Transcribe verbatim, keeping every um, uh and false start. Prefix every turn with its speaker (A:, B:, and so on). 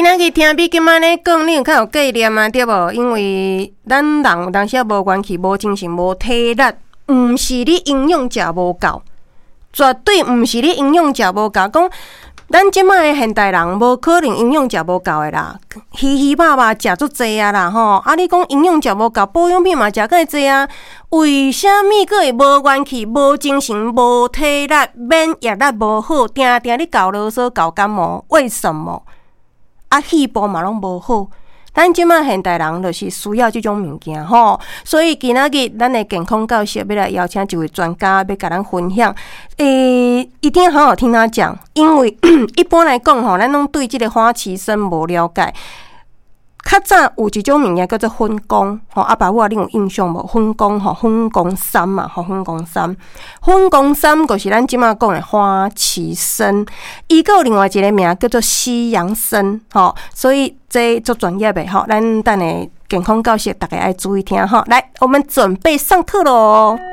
A: 今仔日聽美金按呢講，你有較有概念啊，對無？因為咱人有當時仔無元氣、無精神、無體力，毋是你營養食無夠，絕對毋是你營養食無夠。講咱這擺的現代人，無可能營養食無夠的啦，魚魚肉肉食足濟啊啦吼。啊，你講營養食無夠，保養品嘛食較濟啊，為啥物閣會無元氣、無精神、無體力、免疫力無好，定定咧厚囉嗦、厚感冒？為什麼？啊，肺部嘛攏無好。咱這擺現代人就是需要這種物件吼，所以今仔日咱的健康教室欲來邀請一位專家，欲共咱分享。欸，一定要好好聽他講，因為一般來講吼，咱攏對這個花旗參無了解。較早有一種物件叫做粉公，吼，阿爸母啊，你有印象無？粉公吼，粉公參嘛，吼，粉公參，粉公參就是咱這擺講的花旗參，伊閣有另外一個名叫做西洋參，吼，所以這足專業的吼，咱等下健康教室逐家愛注意聽吼。來，我們準備上課囉。